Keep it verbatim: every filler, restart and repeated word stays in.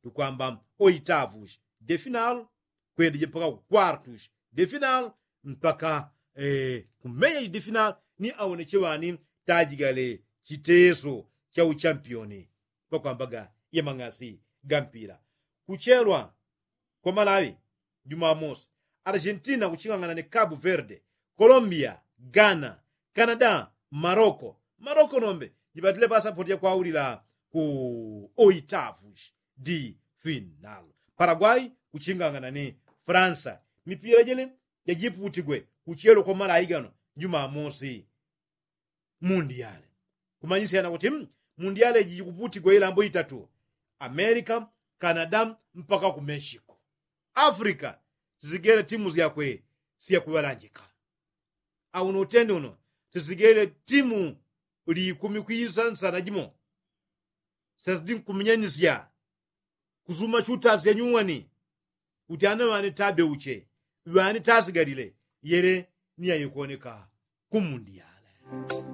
Tukwamba oitavushi de final, kwendije mpaka ku kwartushi de final, mpaka kumeyeshi de final ni awoneche ŵani tajigale chiteso cha uchampioni. Pakwambaga yamang'asi ga mpila kuchelwa kwa malawi, jumamosi argentina kuching'ang'ana ni kabu verde, colombia, ghana, canada, maroko. Maroko nombe jipatile pasapoti yakwaulila ku oitavushi di final. Paraguay kuching'ang'ana ni fransa. Mipila jene jajiputigwe kuchelwa kwa malawi gano jumamosi. Mundiyale kumanyisyana kuti mundiyale jijikuputigwa ilambo itatu, amerika, canada, mpaka ku mexico. Afrika sizigele timu syakwe syakuŵalanjika. Auno utende uno sizigele timu likumi kwisa nsana jimo. Syazidi nkuminyanisya kusuma chutafya nyuwani. Kuti ana ŵani tabeuche ŵani tasigalile yele ni yaikuoneka ku mundiyale.